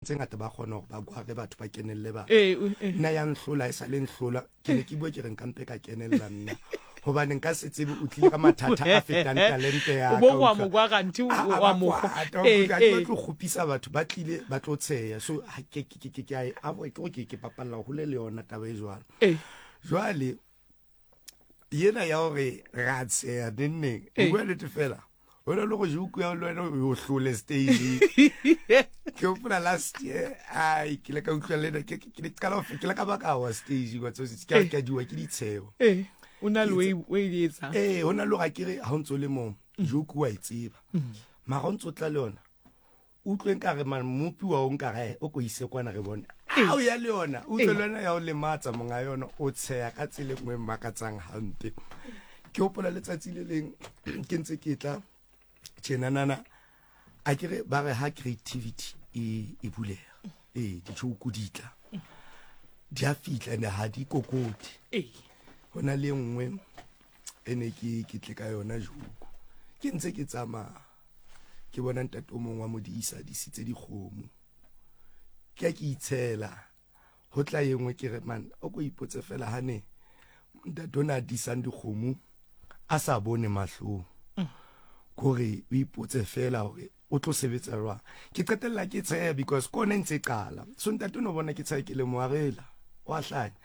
tse ngata ba kgona gore ba kware batho ba kenelele batho. Ee, o- ee. Nna ya nhlola e sa le nhlola, ke ne ke bua ke re nka mpe ka kenella nna. Hobane nka se tsebe o tlile ka mathata a fetang talente ya O ka. bo wa utlwa. mo kwa kganthe A- a wa ba mo kgwa. kwata, Ee, utlwa, ha ke ee. batle ho kgopisa batho ba tlile ba tlo tsheya. So ha ke ke ke ke ke a e avoid, ke gore ke bapalla hole le yona taba e jwalo. Ee. Jwale yena ya gore ra tsheya nenneng, o Ee. bua nnete fela. O na le go joke ya le wena o hlole stage. Ke hopola last year, ai ke ile ka utlwa le nna, ke ke ke qala ho ke ile ka ba ka wa stage wa tsotsi, ke Ee. ka diwa ke ditsheo. Ee, o na le Ke o e o e etsang. Ee, ho na le hore akere ha o ntso le mong, joke wa e tseba. Mara o ntso tla le yona, o utlwe nkare man mmopi wa o nkare o ko ise kwana re bone. Ha o ya le yona, o utlwe le yona ya o lematsa monga yona, o tsheya ka tsela e nngwe e makatsang hampe. Ke hopola letsatsi le leng ke ntse ke tla tjenanana, akere ba re ha creativity e e buleha, ee di-joke di tla, di a fihla and ha di kokote. Ee. Ho na le e nngwe e ne ke ke tle ka yona joke, ke ntse ke tsamaya ke bona ntate o mong wa modisa disitse dikgomo, ke a ke itshela ho tla e nngwe ke re man o ko ipotse fela ha ne ntate o ne a disang dikgomo a sa bone mahlong, kore o ipotse fela hore o tlo sebetsa jwang. Ke qetella ke tsheha because ke ona e ntse e qala. So ntate o no bona ke tsheha ke le moarela wa hlanya,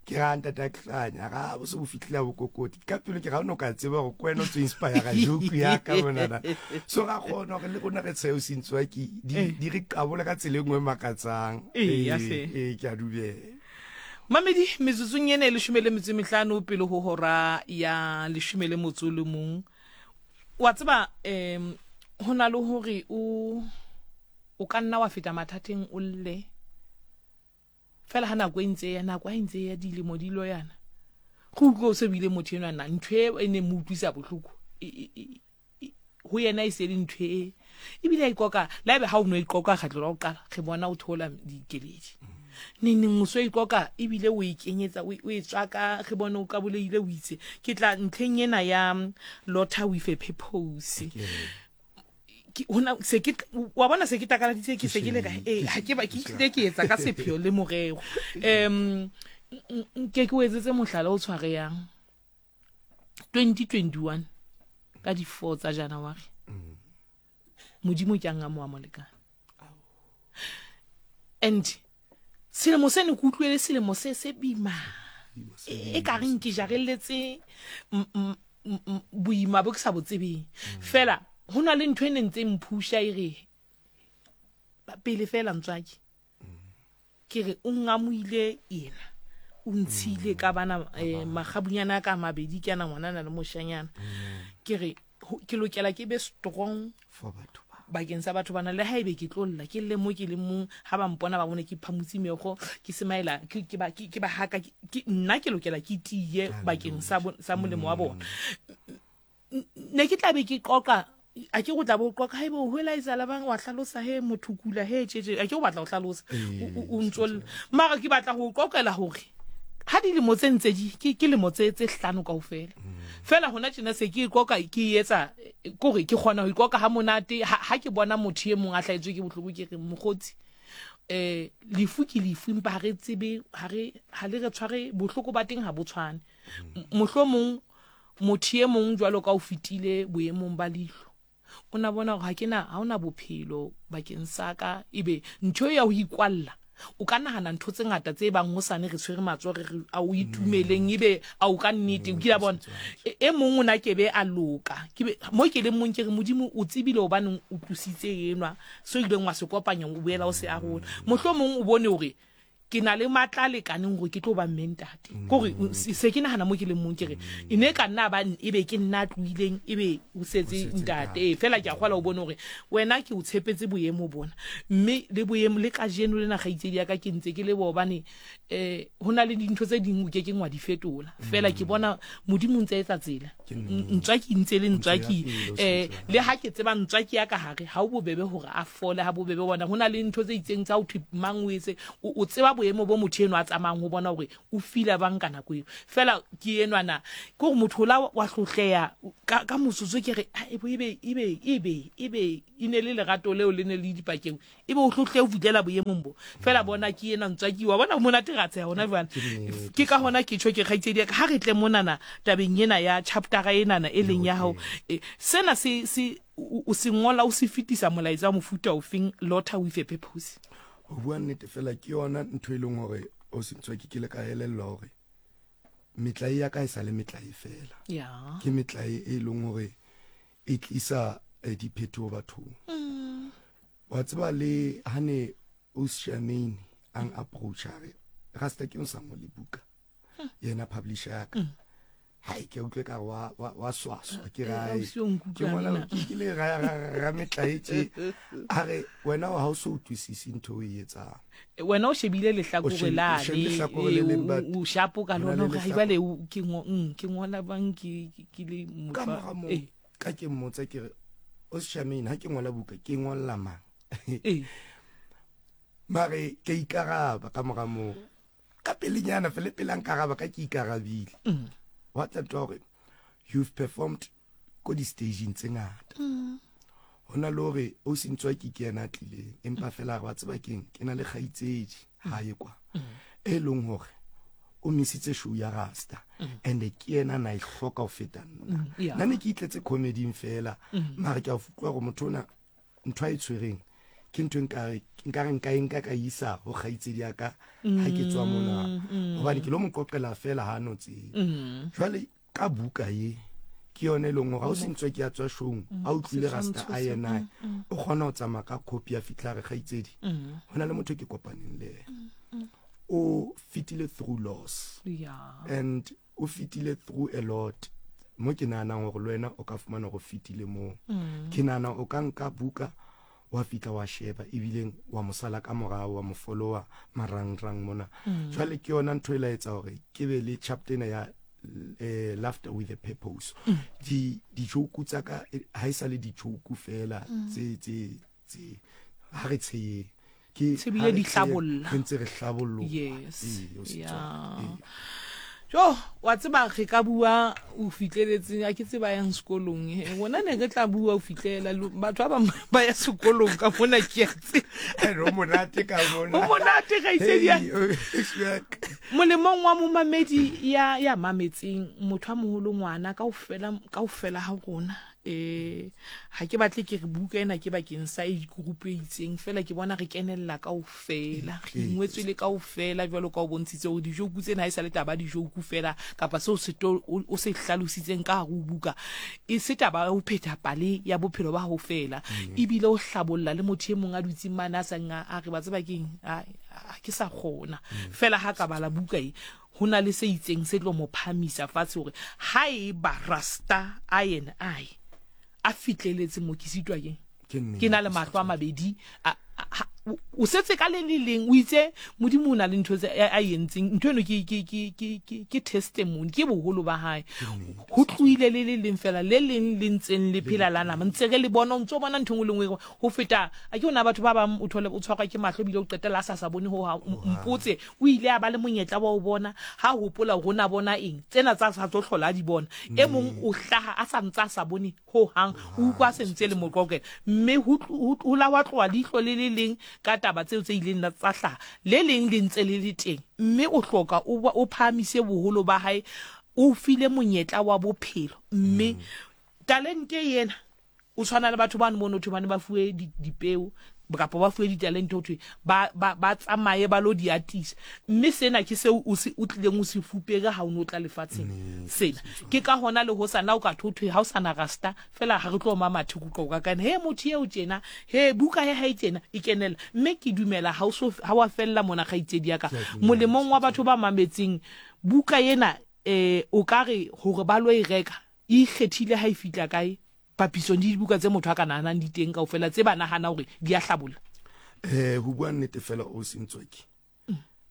ke ra ntate a hlanya ga bo se bo fihlile bo kokoti ka pelo, ke ga o no ka tseba gore ke wena o tlo inspire joke ya ka monana. So ra kgona gore le rona re tshehe o sentswa ke di di re qabole ka tsela e nngwe e makatsang. Ee, ya hle. Ee, ke a dumela. Mamedi, metsotsong ena e 15 pele ho hora ya 11. Wa tseba, um ho na le hore o o ka nna wa feta mathateng o lle fela ha nako e ntse ya nako ha e ntse ya dilemo di lo yana, go utlwe o se bile motho enwa na ntho e e neng mo utlwisa bohloko ho yena e se le ntho e ebile a ikoka la ebe ha o no ikoka kgetlo la ho qala re bona o theola dikeledi neng neng o so ikoka ebile o e kenyetsa o e tswaka re bone o kaboleile o itse ke tla ntlheng ena ya Lotha with a purpose. Ke hona se ke wa bona se ke takaladitse ke se ke le ka eh ha ke ba ke tlile ke etsa ka sepheo le morero. Nke ke o etsetse mohlala o tshwareyang 2021 ka di 4 tsa January. Modimo ke a ngamoa molekane. And selemo se ne ke utlwele selemo se se bima e ka reng ke jarelletse boima bo ke sa bo tsebeng. Fela ho na le ntho e neng tse mphusha e re pele fela ntswaki ke re o ngamoile yena o ntshile ka bana magabunyana a ka mabedi ke ana ngwanana le moshanyana. Ke re ke lokela ke be strong for batho ba bakeng sa batho bana, le ha ebe ke tlo lla ke lle mo ke le mong, ha ba mpona ba bone ke phamotse meokgo ke semaela ke ke ba ke ba haka ke nna ke lokela ke tiye bakeng sa sa molemo wa bona. Ne ke tla be ke qoqa a ke go tla bo qoqa haebe o hwela etsa bang wa hlalosa he motho kula he tje a ke o batla ho hlalosa o ntso mara ke batla ho qoqela hore ha dilemo tse ntse di ke ke lemo tse tse hlano kaofela. Fela hona tjena se ke ikoka ke etsa kore ke kgona ho ikoka ha monate ha ke bona motho e mong a hlahetswe ke bohloko ke re mokgotsi lefu ke lefu empa ha re tsebe ha re ha le re tshware bohloko ba teng ha bo tshwane. Mohlomong motho e mong jwalo ka o fetile boemong ba leihlo o na bona hore ha ke na ha ona bophelo bakeng sa ka, ebe ntho ya ho ikwalla o ka nahana ntho tse ngata tse bang hosane re tshwere matsoho re re a o itumeleng ebe a o ka nnete o kile bona e mong o na kebe a loka ke be mo ke leng mong ke re Modimo o tsebile hobaneng o tlositse enwa so ileng wa se kopanya o boela o se arola. Mohlomong o bone hore ke na le matla a lekaneng gore ke tlo ba mme ntate. Kore se ke nagana mo ke leng mong ke re e ne ka nna ba e be ke nna a tlohileng e be o setse ntate. Ee, fela ke a kgola o bone gore wena ke o tshepetse boemo bona mme le boemo le kajeno lena kgaitsedi ya ka ke ntse ke leboha hobane ho na le dintho tse ding o ke keng wa di fetola. Fela ke bona Modimo o ntse a etsa tsela. Ntswaki ntse le ntswaki le ha ke tseba ntswaki ya ka hare ha o bobebe hore a fole ha bobebe bona ho na le ntho tse itseng tsa ho thwe mang o etse o tseba boemo bo motho eno a tsamayang ho bona hore o fila bang ka nako eo. Fela ke enwana, ke gore motho ola wa hlotleya ka, ka motsotso ke re, "Ah, ebe, ebe, ebe, ebe, ebe e ne le lerato leo le ne le dipakeng, ebe o hlotlehe ho fihlela boemong bo. Fela bona ke ena ntswaki, wa bona monate ra tsheha hona jwale. Ke ka hona ke tjho ke kgaitsedi ya ka, ha re tle monana tabeng ena ya chaptera enana e leng ya hao. Sena se, se, o se ngola o se fetisa molaetsa wa mofuta ofeng, Lotha with a Purpose? Ho bua nnete fela ke yona ntho e leng hore o se ntswaki ke le ka elellwa hore metlae ya ka e sa le metlae fela. Ke metlae e leng hore e tlisa eh, diphetoho bathong. Mm. Wa tseba le hane o Charmaine ang approach a re rasta ke o sa ngole buka. Hmm. Yena publisher ya ka. Mm. Hai ke utlwe ka wa wa wa swaswa ke ra eh, ke ngola ke le ra ra ra metlae tje a re wena ha o so utlwisise ntho o e etsang wena o shebile lehlakore la le o shapo ka lona ga jwale ke ngo mm, ke ngola bang ke ke le motho ka mora mo eh. ka ke mmotsa ke re o Charmaine ha ke ngola buka ke ngolla mang eh. mare ke ikaraba ka mora mo ka pelenyana fele pele a nkaraba ka ke ikarabile mm. wa tla ntwa gore you've performed ko di-stageng tse ngata mm. ho na le hore o sentswa ke ke yena a tlileng empa fela re wa tseba keng ke na le kgaitsedi ha ye kwa e leng hore o misitse show ya rasta and ke yena na e hloka ho feta nna nna ne ke itletse comedy fela mara ke a utlwa gore motho ona ntho a e tshwereng ke ntho nkare nkare nka e nka ka isa ho kgaitsedi ya ka ha ke tswa mona hobane ke lo mo qoqela fela ha no tsebe jwale ka buka ye ke yone e leng gore ga o sentswe ke ya tswa showng a utlwile rasta a yena mm, mm. o kgona go tsamaya ka copy ya fitlha re gaitsedi go na le motho ke kopaneng le ene o fetile through loss and o fetile through a lot mo ke nahanang gore le wena o ka fumana go fetile moo ke nahana o ka nka buka wa fihla wa sheba ebileng wa mo sala ka morao wa mo followa marangrang mona mm. jwale ke yona ntho e la etsa gore ke be le chapter ena ya eh, laughter with a purpose mm. di dijoku tsa ka eh, ha e sa le dijoku fela mm. tse tse tse ha re tsheyeng ke ha re di hlabolla re ntse re hlabolloa yes yeah. Jo, wa tseba re ka bua o fitleletseng a ke tseba yang sekolong e rona ne re tla bua o fitlela batho ba bang ba ya sekolong ka mona ke a tseba o monate ka mona o monate gaitsedi molemong wa momamedi ya ya mametseng motho a moholo ngwana kaofela kaofela ha rona Eh, ha ke batle ke re buka ena ke bakeng sa age group e itseng fela ke bona re kenella kaofela re ingwetswe le kaofela jwalo ka o bontshitse hore dijoku tsena ha e sa le taba dijoku fela kapa seo se o se hlalositseng ka hare ho buka e se taba ya ho phetha pale ya bophelo ba hao fela mm. ebile o hlabolla le motho e mong a dutseng mane a sang a re ba tseba keng a ke sa kgona mm. fela ha ka bala buka e Ho na le se itseng se tlo mo phahamisa fatshe hore haeba Rasta a and I a fitleletse mo ke sitwa keng? Ke na le mahlo a mabedi a, a, o setse ka le le leng o itse modimo o na le ntho tse a entseng ntho eno ke ke ke ke ke ke testimony ke boholo ba hae ho tlohile le le leng fela le leng le ntseng le phela la nama ntse re le bona o ntse o bona ntho e nngwe le nngwe ho feta a ke ona batho ba bang o thole o tshwarwa ke mahlo ebile o qetella a sa sa bone ho mpotse O ile a ba le monyetla wa ho bona, ha a hopola hore o ne a bona eng, tsena tsa sa tlo hlola a di bona. E mong o hlaha a sa ntse a sa bone ho hang, o utlwa a se ntse e le moqoqela. Mme ho, ho, ho la hwa tloha leihlo le le leng ka taba tseo tse ileng tsa hlaha, le leng le ntse le le teng. Mme o hloka o, o phahamise boholo ba hae, o o file monyetla wa bophelo. Mme talente ena O tshwana le batho bano mono thwe ba ne ba fuwe dipeo kapa ba fuwe ditalente ho thwe ba, ba, ba tsamaye ba lo di atisa. Mme sena ke seo o se, o tlileng o se fupere ha o ne o tla lefatsheng. Sena. Ke ka hona le hosane ha o ka thwe, ho thwe ha o sa na rasta, feela ha re tlo oma mathe re utlwa o ka kaena, he motho eo tjena, he buka ya hae tjena, e kenella. Mme ke dumela ha o so, ha wa fella mona kgaitsedi ya ka. Molemong wa batho ba mametseng buka ena, eh, o ka re hore ba lo e reka, E ikgethile ha e fihla kae papisong le dibuka tse motho a ka nahanang di teng kaofela tse ba nahana hore di a hlabolla? Eh, ho bua nnete fela o Sentswaki.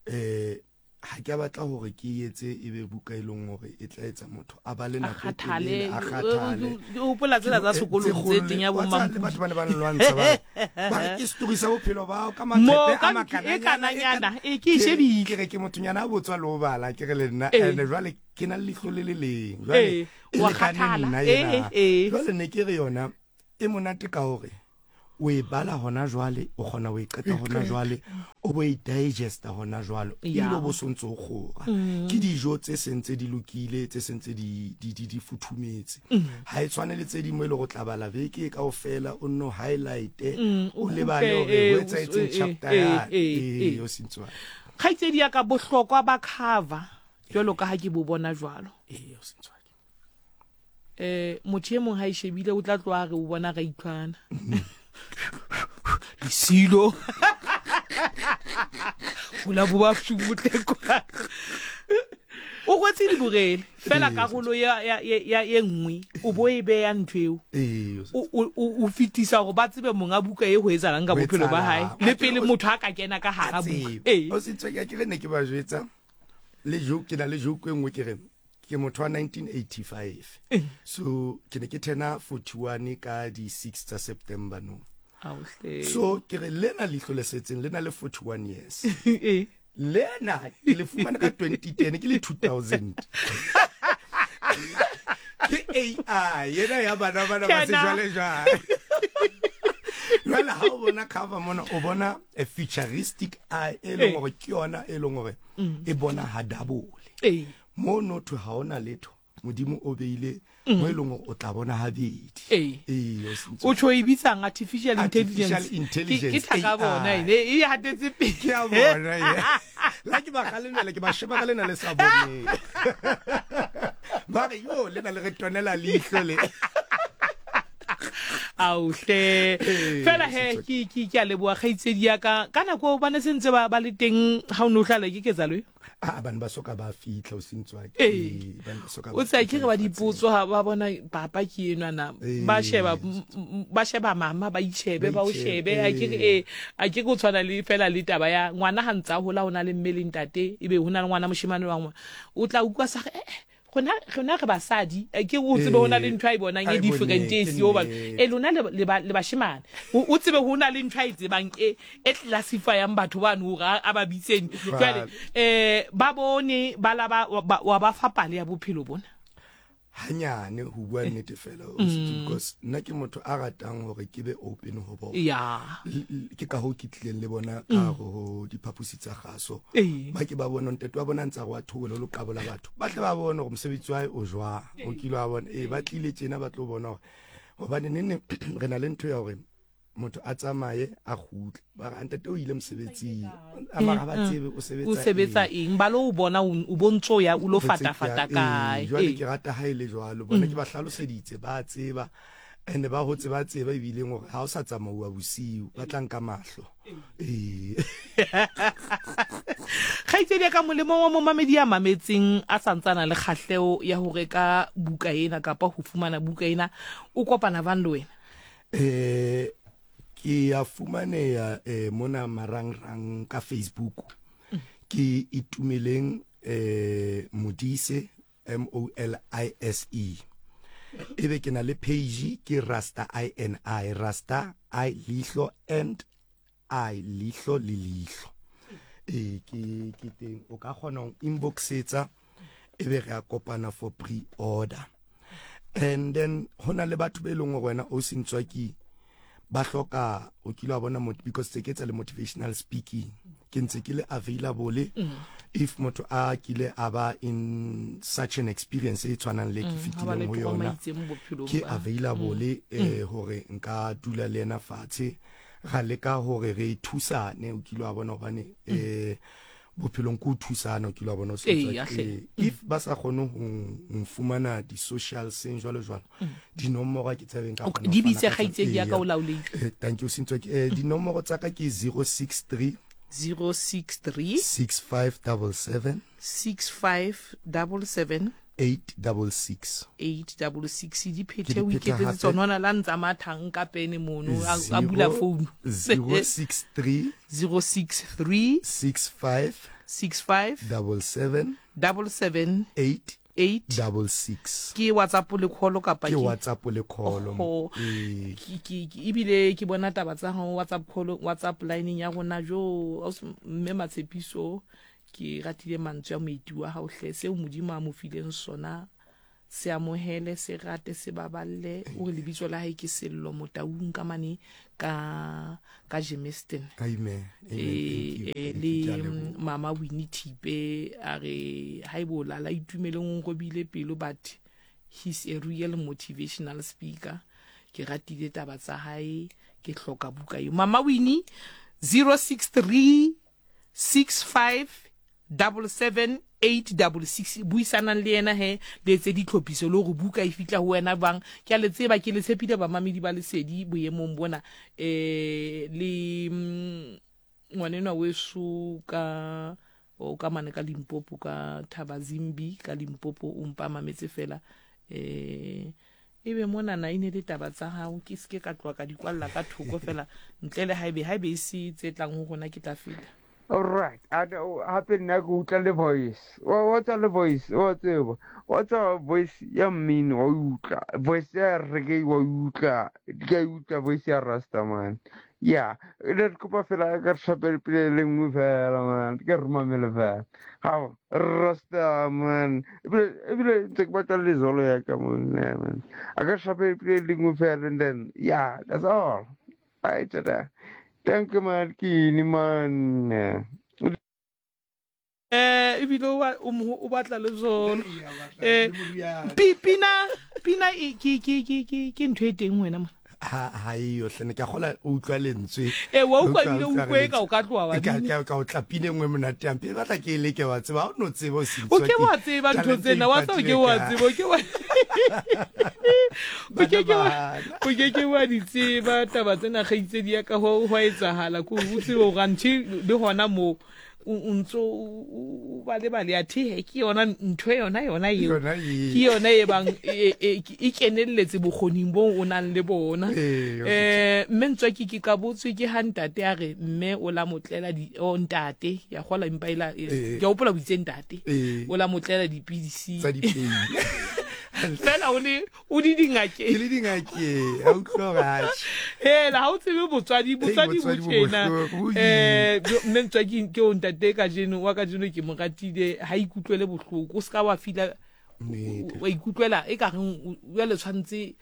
Eh, Ha ke a batla hore ke e etse e be buka e leng hore e tla etsa motho a bale A nako e kgathale. telele, a kgathale. Ke hopola tsela tsa Ke sekolong tse tse teng ya kgolo. bo Wa tseba le Mampudi. batho ba ne ba nlwantsha ba re, ba re ke story sa bophelo ba hao ka Mo maqepe a ka ntho e makananyana, e kananyana, kana- e ke e Ke re- shebile. ke re ke mothonyana a botswa le ho bala, ke re le nna. Ee. And jwale ke na le leihlo le le leng. Jwale Ee, e wa lekane kgathala. nna Ee, ena. ee. Jwale ne ke re yona e monate ka hore o e bala hona jwale, o kgona ho e qeta hona jwale, o bo e digesta hona jwale, ebile o bo sontse o kgora. Ke dijo tse seng tse di lokile, tse seng tse di futhumetse. Ha e tshwane le tse ding mo e leng hore o tla bala beke kaofela, o nno highlight-e, o lebale hore ho etsahetseng chapter yane. Ee, o sentswana. Kgaitsedi ya ka, bohlokwa ba cover jwalo ka ha ke bo bona jwalo. Ee, o sentswana. Eh, motho e mong ha e shebile o tla tloha re o bona ra itlwana lesilo hula bo ba futle kwa o kwetse diborele fela karolo ya ya ya ye nngwe o bo e beya ntho eo o fetisa gore ba tsebe monga buka e go etsalang ka bophelo ba hae le pele motho a ka kena ka hara buka. Ee, o se tswe ke re ne ke ba jwetsa le joke, ke na le joke e nngwe ke re ke motho wa 1985, so ke ne ke thena 41 ka di 6 tsa September no. So ke re lena leihlo le setseng le na le 41 years, lena ke le fumane ka 2010, ke le 2000, ke AI yena ya bana bana ba sejwale jwale. Jwale ha o bona cover mona, o bona a futuristic eye e leng hore ke yona e leng hore e bona ha double mo no thwe ha ona letho, modimo o beile mo e leng hore o tla bona habedi. Ee, o tjho e bitsang artificial intelligence. Ke thaka bona ene e hatetse pele. Ke a bona ye la ke ba galemela, ke ba sheba ka lena le sa boneng, ba re yo lena le re tonela leihlo le. Auhle, fela he ke ke ke a leboa kgaitsedi ya ka. Ka nako ba ne sentse ba ba le teng ha o ne o hlala ke ketsalo e? A bane ba soka ba fitlha o sentswa ke o tsa ke re ba dipotso ha ba bona papa ke enwa na ba sheba, ba sheba mama, ba itshebe, ba o shebe. A ke re a ke go tshwana le fela le taba ya ngwana ha ntsa hola, o na le mme le ntate, ebe ho na le ngwana moshemane wa ngwana, o tla utlwa sa re rona rona re basadi, ke o tsebe ho na le ntho a e bonang e different e siyo ba e lona le le bashemane, o tsebe ho na le ntho a e tsebang e e classifyang batho bano hore a ba bitseng. Jwale ba bone ba la ba wa ba fa pale ya bophelo bona? Hanyane, ho bua nnete fela, because nna ke motho a ratang hore ke be open ho bona. Ke ka hoo ke tlileng le bona ka ho diphaposi tsa kgaso, ba ke ba bona ntate wa bona ntse a re wa thobola lo qabola batho, ba tle ba bone hore mosebetsi wa hae o jwang. O kile wa bona ee, ba tlile tjena ba tlo bona hore hobane nenne re na le ntho ya hore motho a tsamaye a kgutle, ba re ntate o ile mosebetsing, a mara ba tsebe o sebetsa o sebetsa eng, ba lo o bona o bontso ya o lo fata fata kae. Jwale ke rata ha ile jwalo bona ke ba hlaloseditse, ba tseba and ba hotse ba tseba ebileng hore ha o sa tsamauwa bosiu ba tla nka mahlo. Ee. Kgaitsedi ya ka, molemong wa momamedi ya mametseng a santsana le kgahleho ya ho reka buka ena kapa ho fumana buka ena, o kopana bang le wena? Ke ya fumaneha mona marangrang ka Facebook, ke Itumeleng Modise, M O L I S E. Ebe ke na le page ke Rasta I N I, Rasta I leihlo and I leihlo le leihlo. Ee, ke ke teng, o ka kgona ho inboxetsa ebe re a kopana for pre order. And then ho na le batho be leng hore wena o sentswaki ba hloka, o kile wa bona, because tse ke tsa le motivational speaking, ke ntse ke le available if motho a kile a ba in such an experience e tshwanang le ke fetileng ho yona, ke available hore nka dula le yena fatshe ra leka hore re thusane. O kile wa bona hobane bophelong ke ho thusana, o kile wa bona o if ba sa kgone ho fumana di-social seng jwalo jwalo, dinomoro ke tsebeng ka di bitse, kgaitsedi ya ka, o laolehile. Thank you Sintswa. Dinomoro tsa ka ke 063 063 6577 6577 866. 866. Di phethe o iketsetse tsona, ona la ntsa mathang ka pene mono a bula phone. 063 063 65 65 77 77 8 8 66. Ke WhatsApp le call kapa ke WhatsApp le call? Oho. Ee. Ebile ke bona taba tsa hao WhatsApp call, WhatsApp line ya rona jo ausi mme Matshepiso, ke ratile mantswe a moeti wa hao hle, seo Modimo a mo fileng sona se amohele, se rate, se baballe. O re lebitso la hae ke Sello Motaung ka mane ka Germiston. Amen. Amen. Thank you. Eh, Thank you. Ke a le leboha. Mama Winnie Thipe a re haeba o lala itumeleng o nkobile pelo, but he's a real motivational speaker, ke ratile taba tsa hae, ke hloka buka eo. Mama Winnie, 063 65 77 866, buisanang le yena he le etse ditlhophiso le gore buka e fihla ho wena bang. Ke a le tseba, ke le tshepile bamamedi ba Lesedi boemong bona. Le ngwanenwa weso ka o ka mane ka Limpopo, ka Thabazimbi ka Limpopo, o mpa mametse fela. Ebe monana e ne le taba tsa hao, ke seke ka tloha ka di kwalla ka thoko fela, ntle le haebe e se tse tlang ho rona ke tla feta. Alright, hape nna ke utlwa le voice. Wa tswa le voice, wa tseba. Wa tswa voice ya mmino wa utlwa. Voice ya reggae wa utlwa. Ke a utlwa voice ya Rasta man. Yeah, re kopa fela ka re shapele pele le nngwe fela man. Ke re mamele fela. Hao, Rasta man. Ebile ntse ke batla lezolo ya ka monna man. A ka shapele pele le nngwe fela and then yeah, that's all. Bye, tada. Thank you man, ke ini man. Ebile o batla le zolo. Pina e, ke ntho e teng wena mona. Ha e yo hle, ne ke a kgola o utlwa lentswe. Wa utlwa Utlwa ebile o utlwa utlwe ka o ka tloha wa bina. Ka o tla pina e nngwe monate hampe, e batla ke e leke, wa tseba, ha o no tseba o se O ke wa tseba ntho talente tsena, wa tseba o ke wa ipatile tseba, o ke wa o ke ke wa Bana. o ke ke wa di tseba taba tsena, kgaitsedi ya ka, ho a etsahala ko o tsebe hore anthe le hona moo o ntso o ba lebale athe ke yona ntho yona eo. Yona eo. Ke yona e bang e kenelletse bokgoning bo o nang le bona. Ee, Mme Ntswaki ke qabotswe ke ha ntate a re mme o la motlela di, o ntate ya kgola empa ela, ke a hopola o itse ntate o la motlela dipidisi tsa dipei fela o le o di dingakeng. Ke le dingakeng, a utlwa hore atjhe. Hela ha o tsebe botswadi, botswadi bo botswadi bo tjena. bohloko, bo Mme Ntswaki ke o ntate kajeno, wa kajeno ke mo ratile, ha ikutlwele bohloko, o ska wa fila Nnete. wa ikutlwela e ka reng jwale tshwantse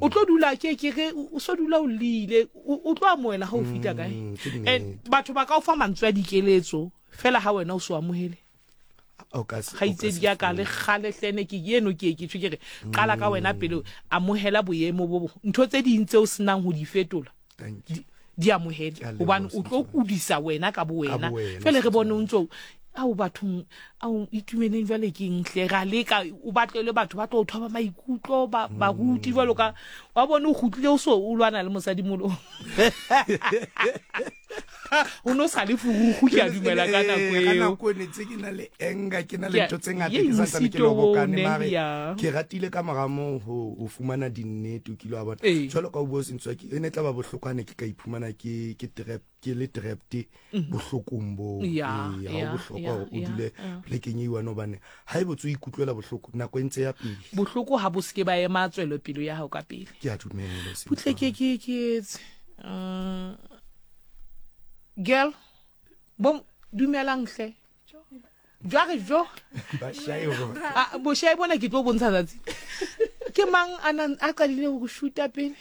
o tlo dula ke ke re o so dula o lile, o tlo amohela ha o fihla kae. Ke And nnete. batho ba ka o fa mantswe a dikeletso fela ha wena o so amohele. O ka se- o ka Kgaitsedi se ya ka le fole. kgale hlene ke eno ke ke tjho ke re qala ka wena pele, amohela boemo bo bo ntho tse ding tseo senang ho di fetola, Thank you. di amohele, Ke a leboha, hobane o tlo Setswana. kudisa wena ka bo wena. Ka bo wena, Jwale re bone o ntso ao bathong ao itumeleng jwale ke eng hle, ra leka o batlele batho ba tlo o thoba maikutlo, baruti jwalo ka wa bone o kgutlile o so o lwana le mosadi molo. O no sa le furugu, ke a dumela ka nako Ka eo. nako ne tse ke na le anger, ke na le Ke a- ntho tse ngata, ye ke santsane ke mosito lobokane, oo ne, mare ya. ke ratile ka mora moo ho fumana dinnete, o kile wa bona. Jwalo ka o bua Sentswaki, e ne e tla ba bohloko ha ne ke ka iphumana ke trap, ke le trapped bohlokong boo. Ya, Ee, ha ho ya, bohlokwa ya, hore o ya, dule ya. plekeng e one, hobane ha ebe o tso ikutlwela bohloko nako e ntse ya pele. Bohloko ha bo seke ba ema tswelopele ya hao ka pele. Ke a dumela, Sentswaki. Butle ke etse. Girl, bo dumelang hle. Jware jo. Ba shae hore A, boshae bona ke tlo bontsha tsatsi. Ke mang a nang a qadile ho shoota pele?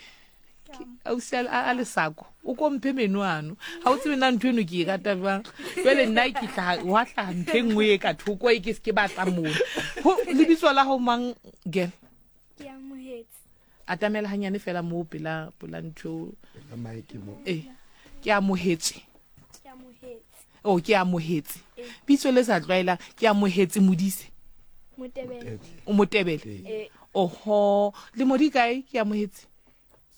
Ke ausi a lesako. O ko mphe meno ano. Ha o tsebe na ntho eno ke e rata jwang. Jwale nna ke hlaha, wa hlaha ntho e nngwe e ka thoko e ke se ke batla mona. Ho lebitso la hao mang, girl? Ke amohetse. Atamela hanyane fela moo pela ntho. Pela mic mo. Ke amohetse. Ke amohetse. Oh, ke amohetse. Bitso le sa tlwaelang, ke amohetse Modise. Motebele. O Motebele. Oho, le modi kae? Ke amohetse.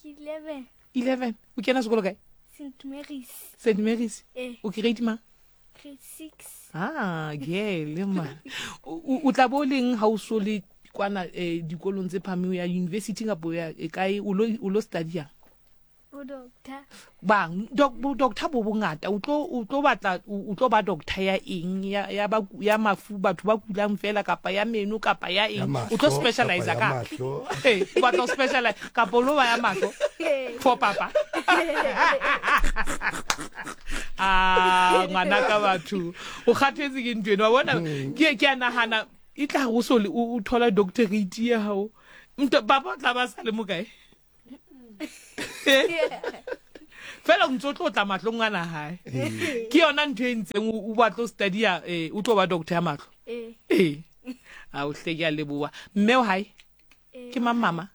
Ke 11. 11. O kena sekolo kae? Saint Mary's. Saint Mary's. O grade mang? Grade 6. Ah, girl man. O tla bo leng ha o so le kwana dikolong tse phahameng ya university kapa ya e kae, o lo study yang? Bo doctor. Bang doc bo doctor bo bongata o tlo o tlo batla o tlo ba doctor ya eng ya ya ba ya mafu batho ba kulang fela kapa ya meno kapa ya eng o tlo specialize ka eh o batla specialize kapa lo ba ya mahlo for papa ah ngwana ka batho o kgathetse ke ntho eno wa bona hmm. ke ke a nahana e tla go so o thola doctorate ya hao papa o tla ba sa le mokae fela o ntse o tlo tla mahlong a na gae ke yona ntho e ntseng o batlo study-a eh, o tlo ba doctor ya matlho ee a o hle ke a leboa mme o gae ke mang mama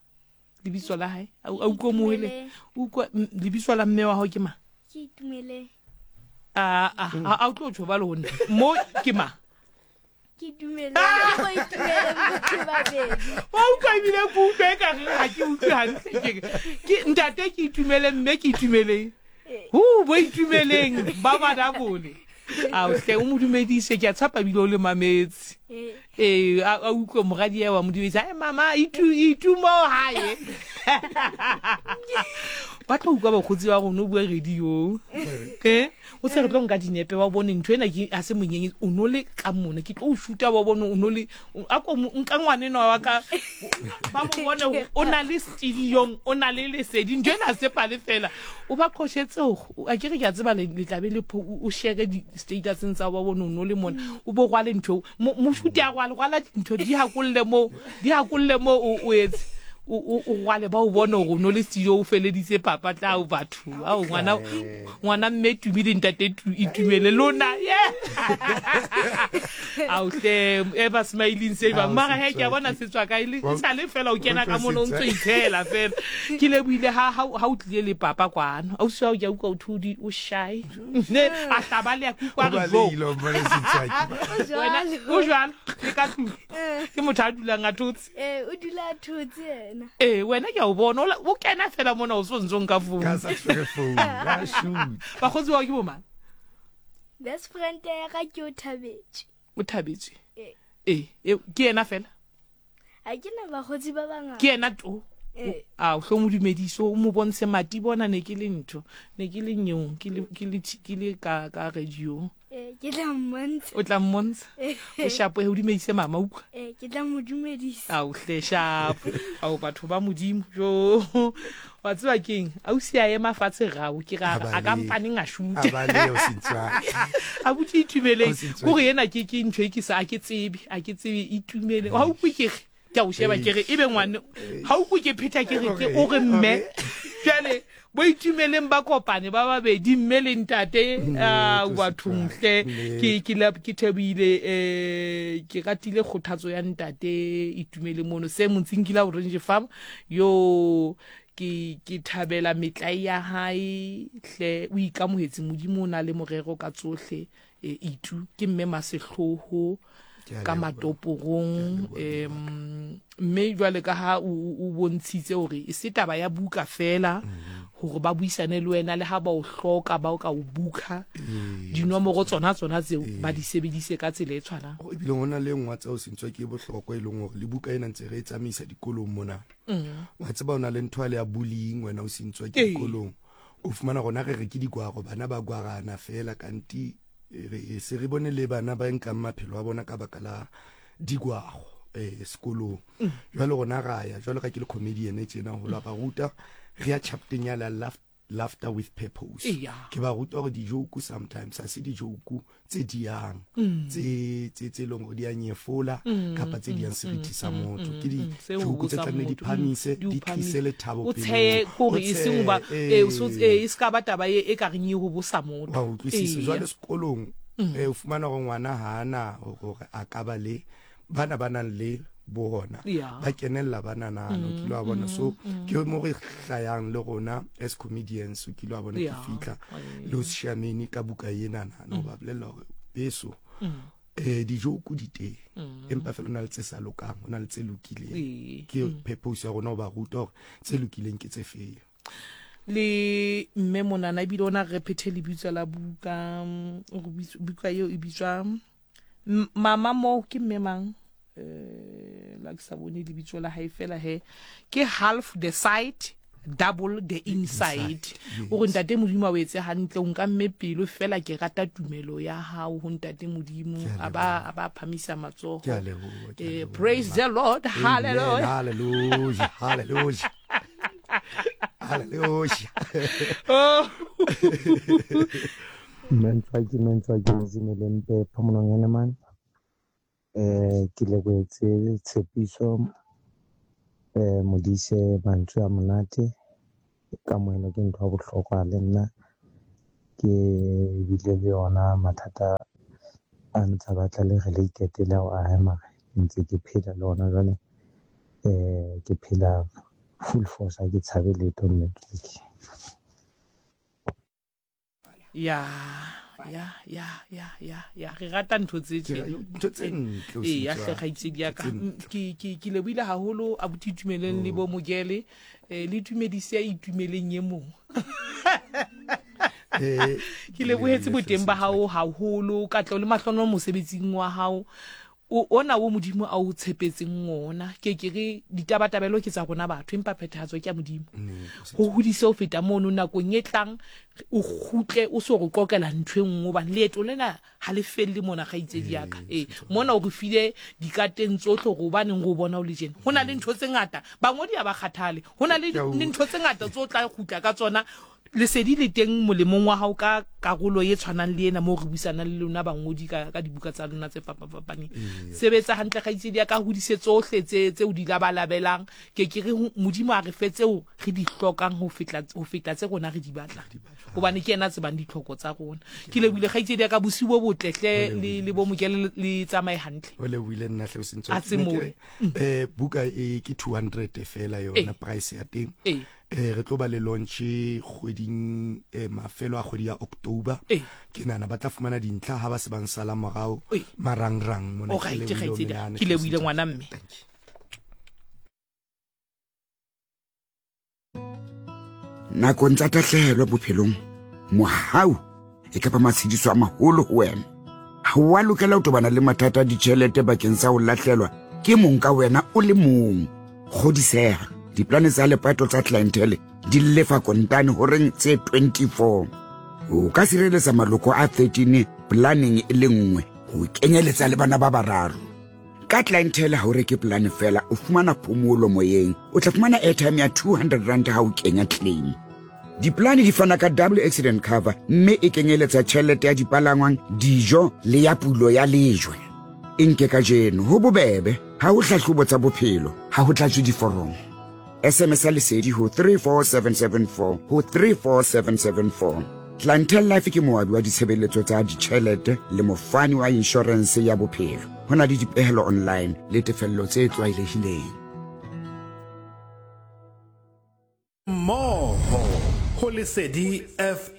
lebitso la gae a utlwe moele utlwa lebitso la mme wa gago ke mang a a o tlo tsho ba le go nna mo ke mang ke dumele go itumele batho babedi wa utlwa ebile ke utlwa e ka re ga ke utlwe gantle ke ke ntate ke itumele mme ke itumeleng hu bo itumeleng ba badabole a hle o mo dumedise ke a tshapa ebile o le mametse ee a utlwe moradi ya wa mo dumedisa e mama itu itu mo hae ba tlo utlwa bakgotsi ba rona o bua radiong e O se re tlo nka dinepe wa bone ntho ena ke a se monyenye o no le ka mona ke tlo o shuta wa bone o no le a ko nka ngwanenwa wa ka ba mo bone o na le studiong o na le lesedi ntho ena se pale fela o ba qoshetse a ke re ke a tseba le tlabe le o share di statuseng tsa wa bone o no le mona o bo rwale ntho mo shute a rwale rwala dintho di hakolle mo di hakolle mo o etse o rwale ba o bone gore o no le studio o feleditse papa tla o batho ao ngwana ngwana mme tumi le ntate itumele lona ye ao hle ever smiling se ba mara he ke a bona se tswa kae le sa le fela o kena ka mono o ntse itshela fela ke le buile ha ha o tlile le papa kwano ausi wa o ke a utlwa o thodi o shy ne a hlaba le ya kutlwa re jo wena o jwalo le ka tlung ke motho a dulang a thotse Ee, o dula a thotse yena. Ee, wena ke a o bona o kena fela mona o so ntse o nka founu. Ka sa tshwere founu, ya shoot. Bakgotsi bao ke bo mang? Best friend ya ka ke o thabetse. O thabetse? Ee. Ee, e, ke yena fela? Ha ke na bakgotsi ba bangata. Ke yena to. Ee. A o hlo mo dumedise o mo bontshe mati bona ne ke le ntho, ne ke le nyong, ke le ke le ke le ka ka radio. Ee, ke tla mmontsha. O tla mmontsha? O shapo o dumedise mama utlwa. Ee, ke tla mo dumedisa. Ao hle shapo. Ao batho ba modimo. Jo. Wa tseba keng? Ausi a ema fatshe rao ke ra a ka mpaneng a shoot. A ba leo sentswa. A butse itumeleng. Kore ena ke ke ntho e ke sa a ke tsebe, a ke tsebe itumele. Wa utlwe ke re ke a o sheba ke re ebe ngwane ga o kwe ke phetha ke re ke o re mme jale bo itumeleng ba kopane ba babedi mme le ntate a bathong hle ke ke la ke thabile eh ke ratile kgothatso ya ntate itumele mono se montsing ke la orange farm yo ke ke thabela metlae ya hae hle o ikamohetse modimo o na le morero ka tsohle E, itu ke mme masehloho ka matoporong um mme jwale ka ha o bontshitse hore e se taba ya buka fela mhm. hore ba buisane le wena le ha ba o hloka ba o ka o buka dinomoro tsona tsona tseo ba di sebedise ka tsela e tshwanang ebile go na le nngwe tseo sentswa ke bohlokwa e leng gore le buka ena ntse re e tsamaisa dikolong mona mm. wa tseba o na le ntho ya le ya bullying wena o sentswa ke dikolong O fumana rona re re ke digwaro, bana ba gwarana fela kanti re se re bone le bana ba nkang maphelo a bona ka baka la digwaro eh sekolong. Mm. Jwale rona ra ya jwale ka ke le comedian e tjena ho la ba ruta re ya chapteng ya la laughter with purpose. Ke ba ruta hore dijoku sometimes ha se dijoku tse diang mm. tse tse tse leng gore di a nyefola mm, kapa tse diang mm, seriti sa motho ke di joku tse tlamehile di phamise di tlise lethabo o tsheye gore e seng ba e e se ka ba taba e ka reng e go bosa motho wa utlwisisa jwale sekolong o fumana gore ngwana ha ana gore a ka ba le bana ba nang le bona ba kenella ba nanano mm, kile wa bona so mm, ke mo re hlayang le rona as comedians o kile wa bona ke fihla le o shameni ka buka ena nana o ba bolella hore beso eh dijoku di teng empa fela o na le tse sa lokang o na le tse lokileng ke purpose ya rona o ba ruta hore tse lokileng ke tse feng le mme monana ebile o na re phethe lebitso la buka buka eo e bitswa Mama moo ke mme mang? Eh, la ke sa bone lebitso la hae fela he. Ke half the side, Double the Inside. O re Ntate Modimo a o etse hantle, o nkamme pelo fela ke rata tumelo ya hao ho Ntate Modimo. A ba a ba phamisa matsoho. Ke a leboha, ke a Eh, leboha. praise the Lord. Amen. Hallelujah. Hallelujah. Hallelujah. Hallelujah. Oh. Mmentswaki Mmentswaki Modimo le mpe phomolong ya lemane. Ke lebohetse tshepiso Modise mantswe a monate. Kamohelo ke ntho ya bohlokwa le nna ke bile le yona mathata a ntsa batla le related le ao a hae mara ntse ke phela le ona jwale. Ke phela full force ha ke tshabe letho mme. Ya, ya, ya, ya, ya, ya. Re rata ntho tse Ke tjena. ntho tse ntle o Ee, ya se hle kgaitsedi ya ka. Tse ntle. Ke ke ke lebohile haholo abuti Itumeleng le bo Mokele. Eh, le tumedise ya Itumeleng e mong. Eh, Ke lebohetse lebohile boteng ba hle, hao haholo, katleho le mahlohonolo mosebetsing wa hao. O, ona wo Modimo a o tshepetseng wona. Ke ke re ditabatabelo ke tsa rona batho, empa phethahatso ke ya Modimo. Ho hodise ho feta mono nakong e tlang o kgutle o so re qoqela ntho e nngwe hobane leeto lena ha le felle mona kgaitsedi ya ka. Ee, mona o re file dikateng tsohle hore hobaneng re o bona o le tjena. Ho na le ntho tse ngata, bangodi ha ba kgathale. Ho na le Ke a utlwa. ntho tse ngata tse o tla kgutla ka tsona. Lesedi le teng molemong wa hao ka karolo e tshwanang le ena moo re buisanang le lona bangodi ka, ka dibuka tsa lona tse fapafapaneng. Sebetsa hantle kgaitsedi ya ka, hodise tsohle tse, tse o di labalabelang. Ke ke re ho Modimo a re fe tseo re di hlokang ho fetla, ho feta tse rona re di batlang. Hobane ke yena a tsebang ditlhoko tsa rona. Ke lebohile kgaitsedi ya ka, bosiu bo botle hle, le, le bo Mokele le tsamaye hantle. O lebohile nna hle o sentse. A tsemoe. Eh, buka e ke 200 fela yona Ee. price ya teng. Ee. Eh, re tlo ba le launch kgweding eh, mafelo a kgwedi ya October. Ee. Ke nahana ba tla fumana dintlha ha ba se ba nsala morao Ee. marangrang mona. O Ke right, lebohile ho kgaitsedi. menahane, Ke lebohile hle o ngwana mme. Thank you. Nakong tsa tahlehelo bophelong, mohau e ka ba matshediso a maholo ho wena. Ha o a lokela ho tobana le mathata a ditjhelete bakeng sa ho lahlelwa ke mong ka wena o le mong. Kgodiseha, diplane tsa lepato tsa Clientele di lefa kontane horeng tse 24. O ka sireletsa maloko a 13 planeng e le nngwe ho kenyeletsa le bana ba bararo. Ka Clientele ha o reke polane fela, o fumana phomolo moyeng. O tla fumana airtime ya 200 rand ha o kenya claim. Diplane di fana ka double accident cover mme e kenyeletsa tjhelete ya dipalangwang, dijo le ya pulo ya lejwe. E nke kajeno, ho bobebe, ha ho hlahlobo tsa bophelo, ha ho tlatswe diforomo. SMS ya lesedi ho 34774 ho 34774. Clientele Life ke moabi wa ditshebeletso tsa ditjhelete le mofani wa inshorense ya bophelo. Ho na le dipehelo online le tefello tse tlwaelehileng. Mmoho ho Lesedi FM.